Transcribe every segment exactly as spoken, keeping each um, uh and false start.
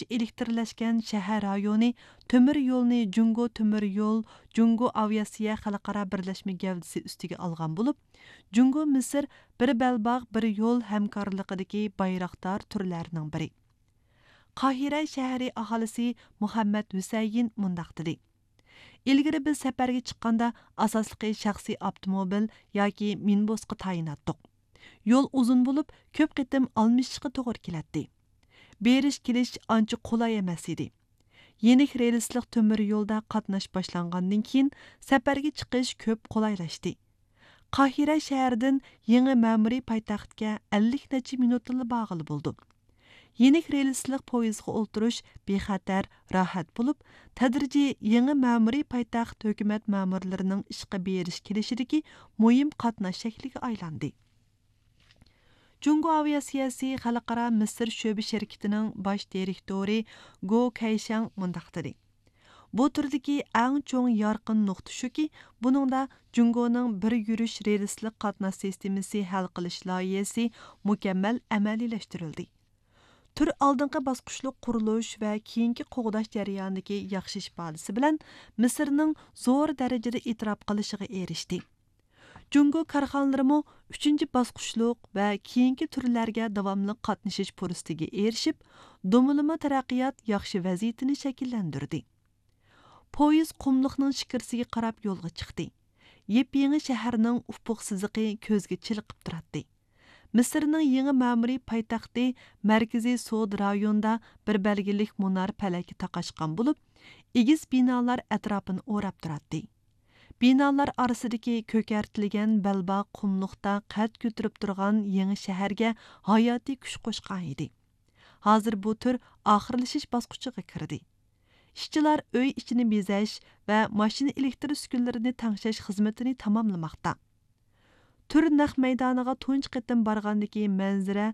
ئېلېكتىرلەشكەن شەھەر رايونى تۆمۈر يولنى جۇڭگو تۆمۈر يول، جۇڭگو ئاۋىئاتسىيە خەلقئارا بىرلەشمە گەۋدىسى ئۈستىگە ئالغان بولۇپ، جۇڭگو مىسىر بىر بەلباغ بىر يول ھەمكارلىقىدىكى بايراقدار تۈرلەرنىڭ بىرى. قاھىرە شەھىرى ئاھالىسى مۇھەممەد ھۈسەيىن مۇنداق دېدى: ئىلگىرى بىز سەپەرگە چىققاندا ئاساسلىقى شەخسىي ئاپتوموبىل ياكى مىنىبۇسقا تايىناتتۇق. يول ئۇزۇن بولۇپ، كۆپ قېتىم ئالمىشىشقا توغرا كېلەتتى. بېرىش كېلىش ئانچە قولاي ئەمەس ئىدى. يېنىك رېلىسلىق تۆمۈر يولدا قاتناش باشلانغاندىن كېيىن، سەپەرگە چىقىش كۆپ قولايلاشتى. قاھىرە شەھىرىدىن يېڭى مەمۇرىي پايتەختكە ئەللىك نەچچە مىنۇتتىلا بارغىلى بولىدۇ. يېنىك رېلىسلىق پويىزغا ئولتۇرۇش بىخەتەر، راھەت بولۇپ، تەدرىجىي يېڭى مەمۇرىي پايتەخت ھۆكۈمەت مەمۇرلىرىنىڭ ئىشقا بېرىش كېلىشىدىكى مۇھىم قاتناش شەكلىگە ئايلاندى. جۇڭگو ئاۋىئاتسىيەسى خەلقئارا مىسىر شۆبە شىركىتىنىڭ باش دىرېكتورى گو كەيشاڭ مۇنداق دېدى: بۇ تۈردىكى ئەڭ چوڭ يارقىن نۇقتا شۇكى، بۇنىڭدا جۇڭگونىڭ بىر يۈرۈش رېلىسلىق قاتناش سىستېمىسى ھەل قىلىش لايىھەسى مۇكەممەل ئەمەلىيلەشتۈرۈلدى. تۈر ئالدىنقى باسقۇچلۇق قۇرۇلۇش ۋە كېيىنكى قوغداش جەريانىدىكى ياخشى ئىپادىسى بىلەن مىسىرنىڭ زور دەرىجىدە ئېتىراپ قىلىشىغا ئېرىشتى. جۇڭگو كارخانىلىرىمۇ ئۈچىنچى باسقۇچلۇق ۋە كېيىنكى تۈرلەرگە داۋاملىق قاتنىشىش پۇرسىتىگە ئېرىشىپ، دۇمىلىما تەرەققىيات ياخشى ۋەزىيىتىنى شەكىللەندۈردى. پويىز قۇملۇقنىڭ شىكىرىسىگە قاراپ يولغا چىقتى. يېپيېڭى شەھەرنىڭ ئۇپۇق سىزىقى كۆزگە چېلىقىپ تۇراتتى. مىسىرنىڭ يېڭى مەمۇرىي پايتەختى مەركىزىي سودا رايونىدا بىر بەلگىلىك مۇنار پەلەككە تاقاشقان بولۇپ، ئېگىز بىنالار ئەتراپىنى ئوراپ تۇراتتى. بىنالار ئارىسىدىكى كۆكەرتىلگەن بەلباغ قۇملۇقتا قەد كۆتۈرۈپ تۇرغان يېڭى شەھەرگە ھاياتىي كۈچ قوشقان ئىدى. ھازىر بۇ تۈر ئاخىرلىشىش باسقۇچىغا كىردى. ئىشچىلار ئۆي ئىچىنى بېزەش ۋە ماشىنا ئېلېكتىر ئۈسكۈنىلىرىنى تەڭشەش خىزمىتىنى تاماملىماقتا. تۈر نەق مەيدانىغا تۇنجى قېتىم بارغاندىكى مەنزىرە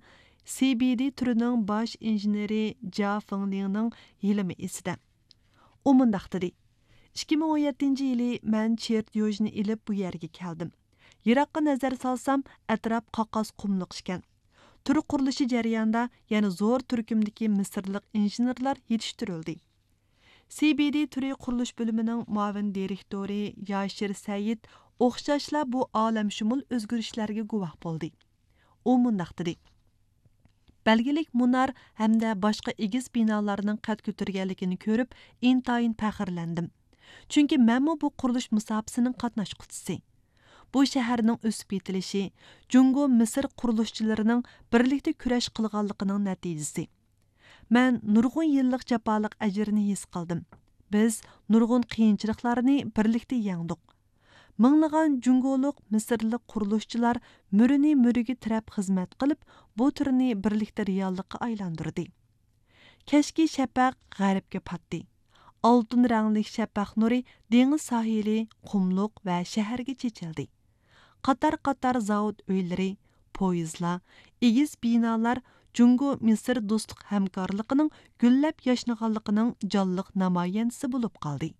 سى بى دى تۈرىنىڭ باش ئىنژېنېرى جيا فېڭلىڭنىڭ ھېلىمۇ ئېسىدە. ئۇ مۇنداق دېدى: ئىككى مىڭ ئون يەتتىنچى يىلى مەن چېرتيوژنى ئېلىپ بۇ يەرگە كەلدىم. يىراققا نەزەر سالسام، ئەتراپ قاقاس قۇملۇق ئىكەن. تۈر قۇرۇلۇشى جەريانىدا يەنە زور تۈركۈمدىكى مىسىرلىق ئىنژېنېرلار يېتىشتۈرۈلدى. سى بى دى تۈرى قۇرۇلۇش بۆلۈمىنىڭ مۇئاۋىن دىرېكتورى ياشىر سەئىد ئوخشاشلا بۇ ئالەمشۇمۇل ئۆزگىرىشلەرگە گۇۋاھ بولدى. ئۇ مۇنداق دېدى: بەلگىلىك مۇنار ھەمدە باشقا ئېگىز بىنالارنىڭ قەد كۆتۈرگەنلىكىنى كۆرۈپ، ئىنتايىن پەخىرلەندىم. چۈنكى مەنمۇ بۇ قۇرۇلۇش مۇساپىسىنىڭ قاتناشقۇچىسى. بۇ شەھەرنىڭ ئۆسۈپ يېتىلىشى جۇڭگو مىسىر قۇرۇلۇشچىلىرىنىڭ بىرلىكتە كۈرەش قىلغانلىقىنىڭ نەتىجىسى. مەن نۇرغۇن يىللىق جاپالىق ئەجىرنى ھېس قىلدىم. بىز نۇرغۇن قىيىنچىلىقلارنى بىرلىكتە يەڭدۇق. مىڭلىغان جۇڭگولۇق، مىسىرلىق قۇرۇلۇشچىلار مۈرىنى مۈرىگە تىرەپ خىزمەت قىلىپ، بۇ تۈرنى بىرلىكتە رېئاللىققا ئايلاندۇردى. كەچكى شەپەق غەربكە پاتتى. ئالتۇن رەڭلىك شەپەق نۇرى دېڭىز ساھىلى، قۇملۇق ۋە شەھەرگە چېچىلدى. قاتار-قاتار زاۋۇت ئۆيلىرى، پويىزلار، ئېگىز بىنالار جۇڭگو مىسىر دوستلۇق ھەمكارلىقىنىڭ گۈللەپ ياشنىغانلىقىنىڭ جانلىق نامايەندىسى بولۇپ قالدى.